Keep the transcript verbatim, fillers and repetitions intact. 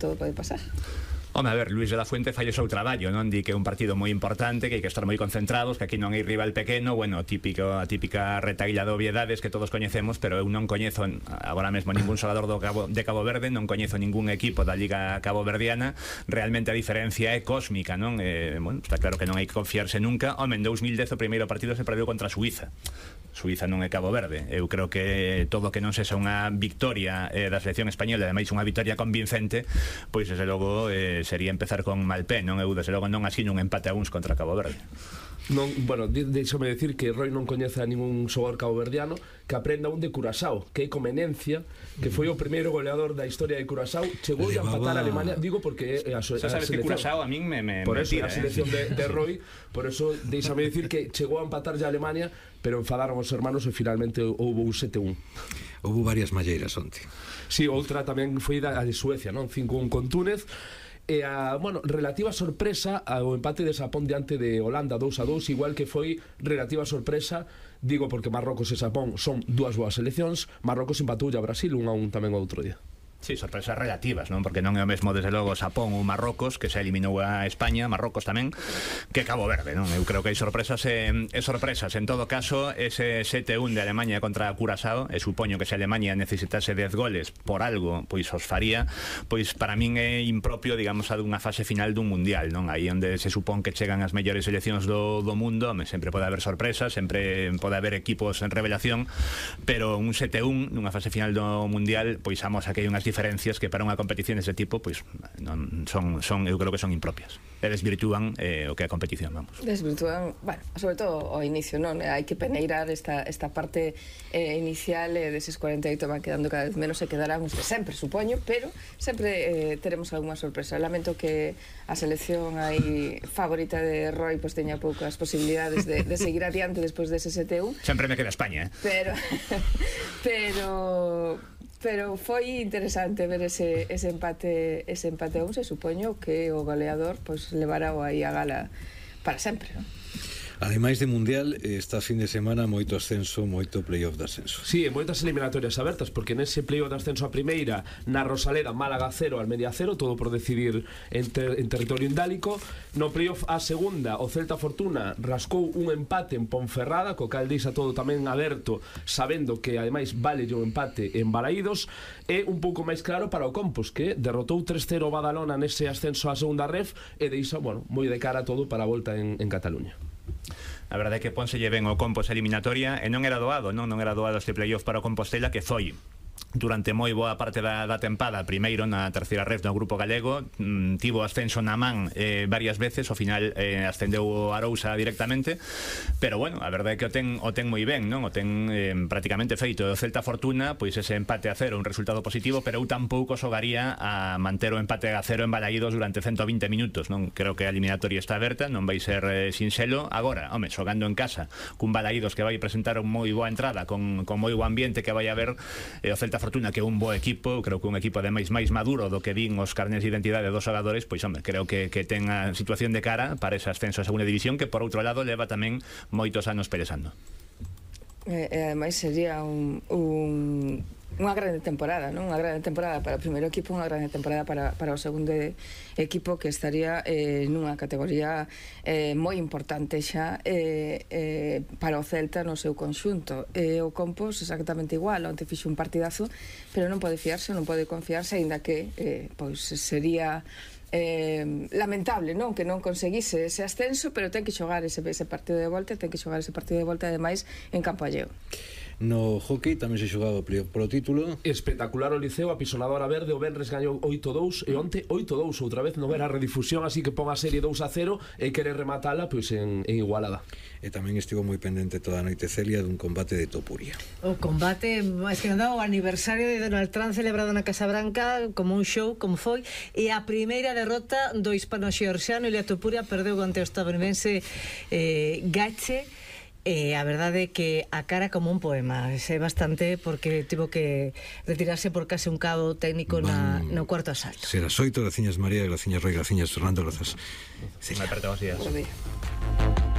todo pode pasar. Home, a ver, Luis de la Fuente fai o seu traballo, non? Di que é un partido moi importante, que hai que estar moi concentrados, que aquí non hai rival pequeno, bueno, típico, a típica retaíla de obviedades que todos coñecemos, pero eu non coñezo agora mesmo ningún xogador do Cabo, de Cabo Verde, non coñezo ningún equipo da Liga Caboverdiana, realmente a diferencia é cósmica, non? Eh, bueno, está claro que non hai que confiarse nunca. Home, en dous mil dez o primeiro partido se perdeu contra Suiza. Suiza non é Cabo Verde. Eu creo que todo que non sexa unha victoria eh, da selección española, ademais unha victoria convincente, pois desde logo eh, sería empezar con mal pé, non? Eu desde logo non asino un empate a uns contra Cabo Verde. Non, bueno, deixame decir que Roy non coñece a ningún xogador caboverdiano que aprenda un de Curaçao, que é Comenencia, que foi o primeiro goleador da historia de Curaçao, chegou a empatar a Alemania, digo porque a, a, a sabes selección, que Curaçao a min me, me por me eso tira, a selección eh? de, de Roy, por eso deixame decir que chegou a empatar ya a Alemania, pero enfadaron os hermanos e finalmente houve un sete un. Houve varias malleiras onte. Si, sí, outra tamén foi a de Suecia, non? cinco un con Túnez. E a, bueno, relativa sorpresa ao empate de Xapón diante de Holanda dous a dous, igual que foi relativa sorpresa, digo porque Marrocos e Xapón son dúas boas seleccións. Marrocos empatou a Brasil un a un tamén outro día. Sí, sorpresas relativas, non? Porque non é o mesmo, desde logo, Xapón ou Marrocos, que se eliminou a España, Marrocos tamén, que Cabo Verde, non? Eu creo que hai sorpresas e, e sorpresas. En todo caso, ese sete un de Alemania contra Curaçao, e supoño que se Alemania necesitase dez goles por algo, pois os faría, pois para min é impropio, digamos, a dunha fase final dun mundial, non? Aí onde se supón que chegan as mellores seleccións do, do mundo, sempre pode haber sorpresas, sempre pode haber equipos en revelación, pero un sete un nunha fase final do mundial, pois amosa que hai unhas diferencias que para unha competición dese tipo pois non son son eu creo que son impropias e desvirtúan eh, o que é a competición, vamos. Desvirtúan, bueno, sobre todo ao inicio, non? Hai que peneirar esta, esta parte eh, inicial e eh, deses cuarenta e oito van quedando cada vez menos e quedarán os de sempre, supoño, pero sempre eh, teremos algunha sorpresa. Lamento que a selección aí favorita de Roy pois teña poucas posibilidades de, de seguir adiante despois dese sete un. Sempre me queda España, eh? Pero pero pero foi interesante ver ese, ese empate ese empate a un, se supoño que o goleador pois levará aí a gala para sempre, non? Ademais de Mundial, esta fin de semana moito ascenso, moito playoff de ascenso. Si, sí, moitas eliminatorias abertas, porque nese playoff de ascenso a primeira, na Rosaleda, Málaga cero, Almería cero, todo por decidir en, ter en territorio indálico. No playoff a segunda, o Celta Fortuna rascou un empate en Ponferrada, co cal deixa todo tamén aberto, sabendo que ademais vale o empate en Balaídos. É un pouco máis claro para o Compos, que derrotou tres cero o Badalona nese ascenso a segunda ref e deixa, bueno, moi de cara todo para a volta en, en Cataluña. A verdade é que pónselle ben o Compos eliminatoria e non era doado, non, non era doado este playoff para o Compostela, que foi durante moi boa parte da, da tempada primeiro na terceira ref do grupo galego, mm, tivo ascenso na man eh, varias veces, ao final eh, ascendeu o Arousa directamente, pero bueno, a verdade é que o ten, o ten moi ben, non? O ten eh, prácticamente feito. O Celta Fortuna, pois ese empate a cero, un resultado positivo, pero eu tampouco xogaría a manter o empate a cero en Balaídos durante ciento vinte minutos, non? Creo que a eliminatoria está aberta, non vai ser eh, sinxelo. Agora, home, xogando en casa cun Balaídos que vai presentar un moi boa entrada, con, con moi bo ambiente que vai haber, eh, o Celta Fortuna, que é un bo equipo, creo que un equipo ademais máis maduro do que din os carnés de identidade dos xogadores, pois home, creo que, que ten a situación de cara para ese ascenso a segunda división, que por outro lado leva tamén moitos anos pelexando. E eh, ademais sería un, un unha grande temporada, non? Unha grande temporada para o primeiro equipo, unha grande temporada para, para o segundo equipo, que estaría eh, nunha categoría eh, moi importante xa eh, eh, para o Celta no seu conxunto. E o Compos exactamente igual, onte fixo un partidazo, pero non pode fiarse, non pode confiarse, aínda que eh, pois sería eh, lamentable, non? Que non conseguise ese ascenso, pero ten que xogar ese, ese partido de volta, ten que xogar ese partido de volta ademais en campo alleo. No hockey tamén se xogaba polo título. Espectacular o Liceo, a pisonadora verde. O Benres gañou oito dous e onte oito dous outra vez. Non era redifusión, así que pon a serie dous a cero e quere rematala pois en, en Igualada. E tamén estivo moi pendente toda a noite Celia dun combate de Topuria. O combate, máis que nada, o aniversario de Donald Trump celebrado na Casa Branca como un show, como foi, e a primeira derrota do hispano-xeorxiano. Ilia Topuria perdeu ante o estadounidense eh, Gache. E a verdade é que a cara como un poema, sei bastante, porque tivo que retirarse por case un cabo técnico na, no cuarto asalto. Serás oito, graciñas María, graciñas Roy, graciñas Fernando, grazas. Me apertamos días.